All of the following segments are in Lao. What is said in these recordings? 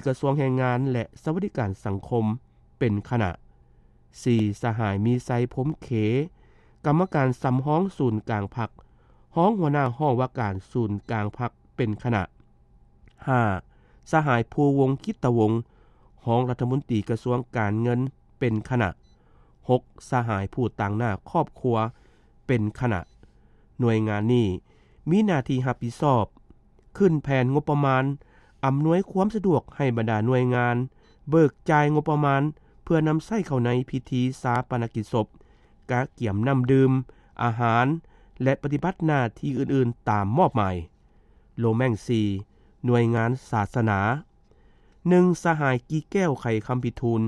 ກະຊວງແຮງງານ ແລະ ສະຫວັດດີການສັງຄົມ ເປັນຄະນະ. ສີ່, ສະຫາຍ ມີໄຊ ພົມເຂ ກຳມະການສຳຮອງສູນກາງພັກ, ຮອງຫົວໜ້າຫ້ອງວ່າການສູນກາງພັກ ເປັນຄະນະ. ຫ້າ, ສະຫາຍ ພູວົງ ກິດຕະວົງ, ຮອງລັດຖະມົນຕີກະຊວງການເງິນ ເປັນຄະນະ. ຫົກ, ສະຫາຍ ຜູ້ຕາງໜ້າຄອບຄົວ ເປັນຄະນະ. ໜ່ວຍງານນີ້ມີໜ້າທີ່ຮັບຜິດຊອບ ຂຶ້ນແຜນງົບປະມານ, ອຳນວຍຄວາມສະດວກໃຫ້ບັນດາໜ່ວຍງານ, ເບີກຈ່າຍງົບປະມານເພື່ອນຳໃຊ້ເຂົ້າໃນພິທີຊາປະນະກິດສົບ, ກະກຽມນ້ຳດື່ມ, ອາຫານ ແລະ ປະຕິບັດໜ້າທີ່ອື່ນໆຕາມມອບໝາຍ. ໂລແມງ ສີ່, ໜ່ວຍງານສາສະໜາ. ໜຶ່ງ, ສະຫາຍ ກີແກ້ວ ໄຂຄຳພິທູນ,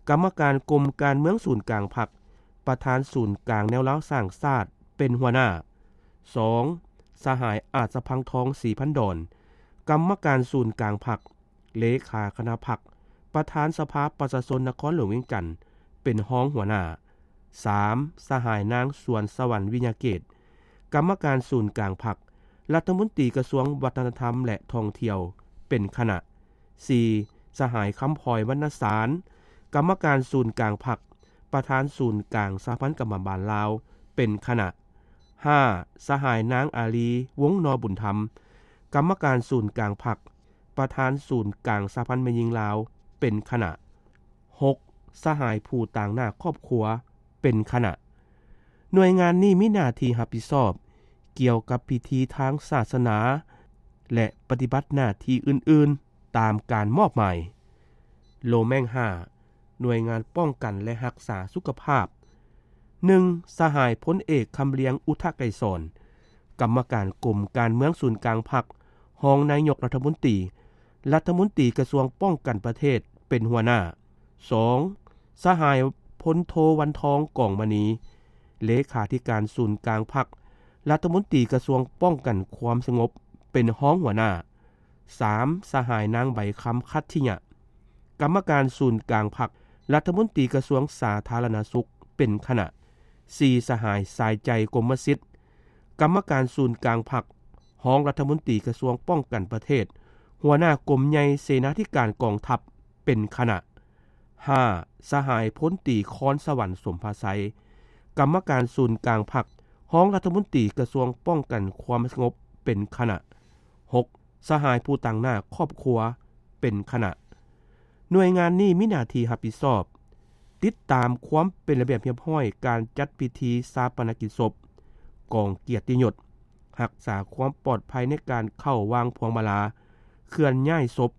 ກຳມະການກົມການເມືອງສູນກາງພັກ, ປະທານສູນກາງແນວລາວສ້າງຊາດ ເປັນຫົວໜ້າ. ສອງ, ສະຫາຍ ອາດສະພັງທອງ ສີພັນດອນ, ກຳມະການສູນກາງພັກ, ເລຂາຄະນະພັກ, ປະທານສະພາປະຊາຊົນນະຄອນຫຼວງວຽງຈັນ ເປັນຮອງຫົວໜ້າ. ສາມ, ສະຫາຍ ນາງ ສວນສະຫວັນ ວິຍະເກດ, ກຳມະການສູນກາງພັກ, ລັດຖະມົນຕີກະຊວງວັດທະນະທຳ ແລະ ທ່ອງທ່ຽວ ເປັນຄະນະ. ສີ່, ສະຫາຍ ຄຳພອຍ ວັນນະສານ, ກຳມະການສູນກາງພັກ, ປະທານສູນກາງສະຫະພັນກຳມະບານລາວ ເປັນຄະນະ. ຫ້າ, ສະຫາຍ ນາງ ອາລີ ວົງນໍບຸນທຳ, ກຳມະການສູນກາງພັກ, ປະທານສູນກາງສະຫະພັນແມ່ຍິງລາວ ເປັນຄະນະ. ຫົກ, ສະຫາຍ ຜູ້ຕາງໜ້າຄອບຄົວ ເປັນຄະນະ. ໜ່ວຍງານນີ້ມີໜ້າທີ່ຮັບຜິດຊອບກ່ຽວກັບພິທີທາງສາສະໜາ ແລະ ປະຕິບັດໜ້າທີ່ອື່ນໆຕາມການມອບໝາຍ. ໂລແມງ ຫ້າ, ໜ່ວຍງານປ້ອງກັນ ແລະ ຮັກສາສຸຂະພາບ. ໜຶ່ງ, ສະຫາຍ ພົນເອກ ຄຳລຽງ ອຸທະໄກສອນ, ກຳມະການກົມການເມືອງສູນກາງພັກ, ຮອງນາຍົກລັດຖະມົນຕີ, ລັດຖະມົນຕີກະຊວງປ້ອງກັນປະເທດ ເປັນຫົວໜ້າ. ສອງ, ສະຫາຍ ພົນໂທ ວັນທອງ ກອງມະນີ, ເລຂາທິການສູນກາງພັກ, ລັດຖະມົນຕີກະຊວງປ້ອງກັນຄວາມສະຫງົບ ເປັນຮອງຫົວໜ້າ. ສາມ, ສະຫາຍ ນາງ ໃບຄຳ ຄັດທິຍະ, ກຳມະການສູນກາງພັກ, ລັດຖະມົນຕີກະຊວງສາທາລະນະສຸກ ເປັນຄະນະ. ສີ່, ສະຫາຍ ສາຍໃຈ ກົມມະສິດ, ກຳມະການສູນກາງພັກ, ຮອງລັດຖະມົນຕີກະຊວງປ້ອງກັນປະເທດ, ຫົວໜ້າກົມໃຫຍ່ເສນາທິການກອງທັບ ເປັນຄະນະ. ຫ້າ, ສະຫາຍ ພົນຕີ ຄອນສະຫວັນ ສົມພາໄຊ, ກຳມະການສູນກາງພັກ, ຮອງລັດຖະມົນຕີກະຊວງປ້ອງກັນຄວາມສະຫງົບ ເປັນຄະນະ. ຫົກ, ສະຫາຍ ຜູ້ຕາງໜ້າຄອບຄົວ ເປັນຄະນະ. ໜ່ວຍງານນີ້ມີໜ້າທີ່ຮັບຜິດຊອບ ຕິດຕາມຄວາມເປັນລະບຽບຮຽບຮ້ອຍການຈັດພິທີຊາປະນະກິດສົບ, ກອງກຽດຕິຍົດ, ຮັກສາຄວາມປອດໄພໃນການເຂົ້າວາງພວງມາລາ, ເຄື່ອນຍ້າຍສົບ,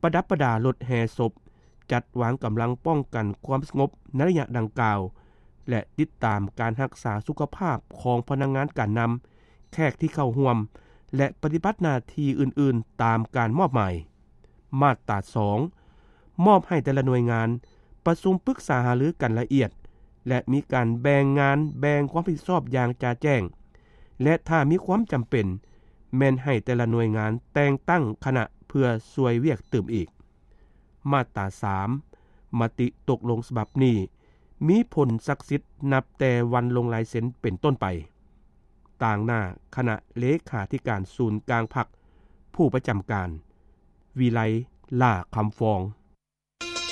ປະດັບປະດາລົດແຫ່ສົບ, ຈັດວາງກຳລັງປ້ອງກັນຄວາມສະຫງົບໃນໄລຍະດັ່ງກ່າວ ແລະ ຕິດຕາມການຮັກສາສຸຂະພາບຂອງພະນັກງານການນຳ, ແຂກທີ່ເຂົ້າຮ່ວມ ແລະ ປະຕິບັດໜ້າທີ່ອື່ນໆຕາມການມອບໝາຍ. ມາດຕາສອງ, ມອບໃຫ້ແຕ່ລະໜ່ວຍງານປະຊຸມປຶກສາຫາລືກັນລະອຽດ ແລະ ມີການແບ່ງງານແບ່ງຄວາມຮັບຜິດຊອບຢ່າງຈະແຈ້ງ ແລະ ຖ້າມີຄວາມຈຳເປັນ ແມ່ນໃຫ້ແຕ່ລະໜ່ວຍງານແຕ່ງຕັ້ງຄະນະເພື່ອຊ່ວຍວຽກຕື່ມອີກ. ມາດຕາສາມ, ມະຕິຕົກລົງສະບັບນີ້ມີຜົນສັກສິດນັບແຕ່ວັນລົງລາຍເຊັນເປັນຕົ້ນໄປ. ຕາງໜ້າຄະນະເລຂາທິການສູນກາງພັກ, ຜູ້ປະຈຳການ, ວິໄລ ຫຼ້າຄຳຟອງ.